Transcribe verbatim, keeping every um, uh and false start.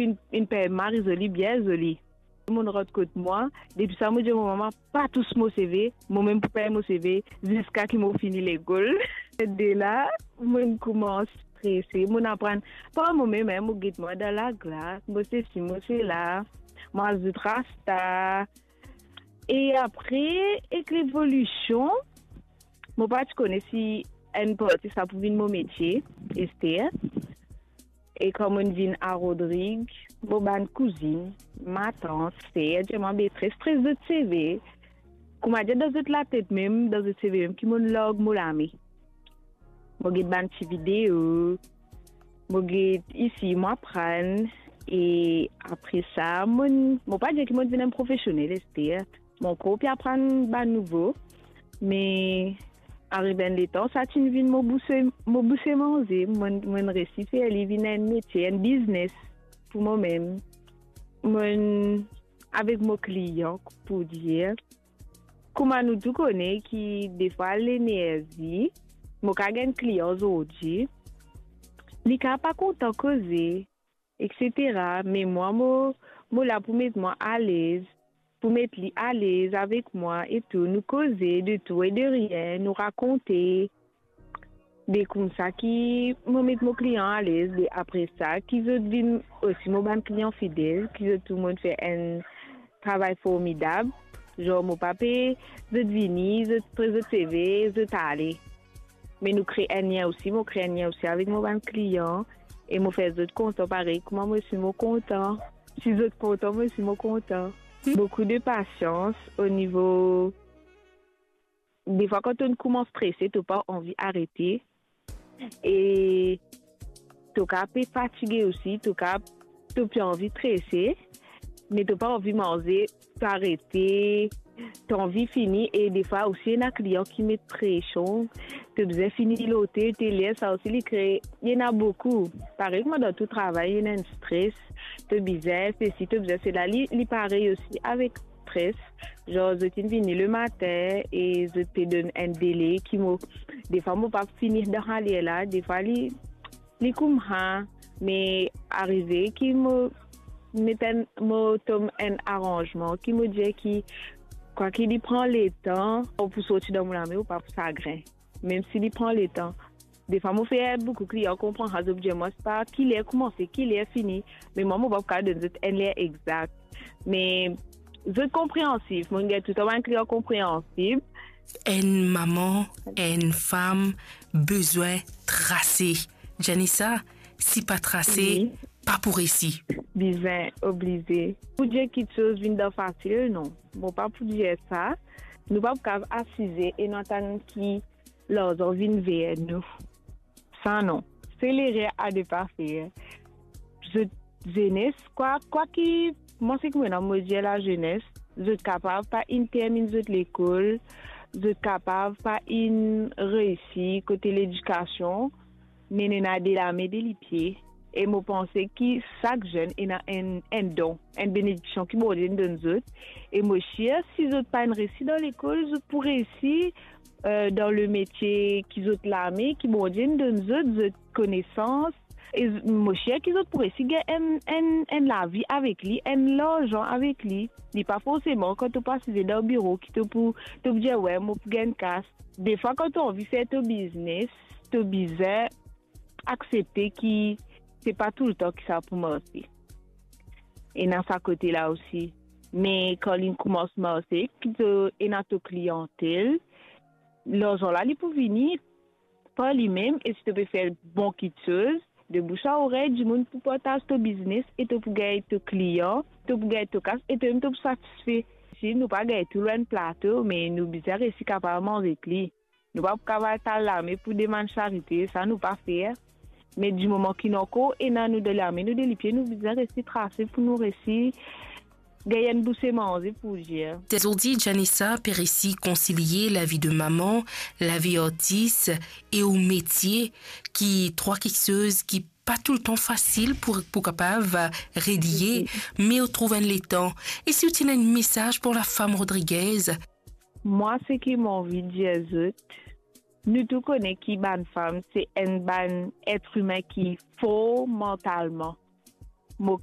Inn, inn pey mari zoli, bien zoli. Mo'nn rant kot mwa, depi sa mo dir mo mama, pa tous mo seve, mo mem pou pey mo seve, ziska ki mo fini lekol. De la, mo'nn koumans strese, mo'nn aprann par mo mem, mo get mwa dan laglas, mo sesi, mo sela, mo azout rasta. E apre, ek levolision, mo pa ti kone si enn parti sa pou vinn mo metie, Esther. E kan mo'nn vinn a Rodrig, mo bann kouzinn, matant, ser, dir mwa, be, stres, stres zot seve. Kouma dir, dan zot latet mem, dan zot seve mem, ki mo'nn larg mo lame. Mo get bann ti video, mo get isi, mo aprann. E apre sa, mo'nn, mo pa dir ki mo'nn vinn enn profesionel, Esther. Mo ankor pe aprann bann nouvo, me ariv enn letan, sa ti'nn vinn mo bouse, mo bouse manze, mo'nn, mo'nn resi fer li vinn enn metie, enn biznes pou mo mem. Mo'nn avek mo klian, pou dir, kouma nou tou kone ki defwa lenerzi, mo kav gagn klian zordi, li kav pa kontan koze, etsetera. Me mwa, mo, mo la pou met mwa alez, pou met li alez avek mwa e tou. Nou koze de tou e de rien, nou rakonte. Be koumsa ki mo met mo klian alez, be apre sa, ki zot vinn osi mo bann klian fidel, ki zot tou mo'nn fer enn travay formidab. Zan mo pa pe, zot vini, zot pran zot seve, zot ale. Me nou kre enn lien osi, mo kre enn lien osi avek mo bann klian, e mo fer zot kontan parey kouma mo osi mo kontan. Si zot kontan, mo osi mo kontan. Boukou de pasians o nivo, defwa kan to'nn koumans strese, to pa anvi arete, e to kav pe fatige osi, to kav, to pe anvi strese, me to pa anvi manze, to arete, to anvi fini. E defwa osi ena klian ki met presion, to bizin fini lotel, tel ler, sa osi li kre, ena boukou. Parey kouma dan tou travay, ena enn stres, to bizin sesi, to bizin sela, li, li parey osi avek stres. Zan zot inn vini lematin e zot pe donn enn dele ki mo, defwa mo pa fini dan sa ler la, defwa li, li koumsa, me arive ki mo met enn, mo tom enn aranzman, ki mo dir ki, kwaki li pran letan, ou pou sorti dan mo lame, ou pa pou sagrin. Mem si li pran letan. Defwa mo fer boukou klian konpran sa, zot dir mwa, se pa ki ler koumanse, ki ler fini. Me mwa, mo pa pou kav donn zot enn ler exak. Me zot konpreansif, mo'nn gagn toultan bann klian konpreansif. Enn mama, enn fam, bizin trase. Janissa, si pa trase, wi, pa pou resi. Bizin, oblize. Pou dir kiksoz vinn dan fasil, non. Mo pa pou dir sa. Nou pa pou kav asize e nou atann ki larzan vinn ver nou. Sa non. Se lerer a ne pa fer. Zot zenes, kwa, kwaki, mwa seki mo ena mo dir lazenes, zot kapav pa inn terminn zot lekol, zot kapav pa inn reisi kote ledikasion, me nou ena de lame, de lipie. E mo panse ki sak zenn ena enn, enn don, enn benediksion ki Bondie inn donn zot. E mo sir, si zot pa inn reisi dan lekol, zot pou reisi, eh, dan lemetie ki zot lame, ki Bondie inn donn zot, zot konesans. E z-, mo sir ki zot pou reisi gagn enn, enn, enn lavi avek li, enn larzan avek li. Li pa forseman kan to pe asize dan biro ki to pou, to pou dir, "Wi, mo pou gagn kas." Defwa, kan to anvi fer to biznes, to bizin aksepte ki se pa toultan ki sa pou marse. Ena sa kote la osi. Me kan li koumans marse, ki to ena to kliantel, larzan la, li pou vini par limem, e si to pe fer bon kiksoz, de bouche a orey, dimoun pou partaz to biznes e to pou gagn to klian, to pou gagn to kas e to mem to pou satisfe. Si nou pa gagn tou lor enn plato, me nou bizin reisi kapav manz ek li. Nou pa pou kav al taz lame pou demann sarite, sa nou pa fer. Me dimoman ki nou ankor ena nou de lame, nou de lipie, nou bizin reisi trase pou nou reisi gagn enn bouse manze, pou dir. Zordi, Janissa pe reisi konsilie lavi de mama, lavi artis e ou metie, ki trwa kiksoz ki pa toultan fasil pou, pou kapav relie, me ou trouv enn letan. E si ou ti ena enn mesaz pou lafam rodrigez? Mwa, seki mo anvi dir zot, nou tou kone ki bann fam se enn bann et imin ki for mantalman.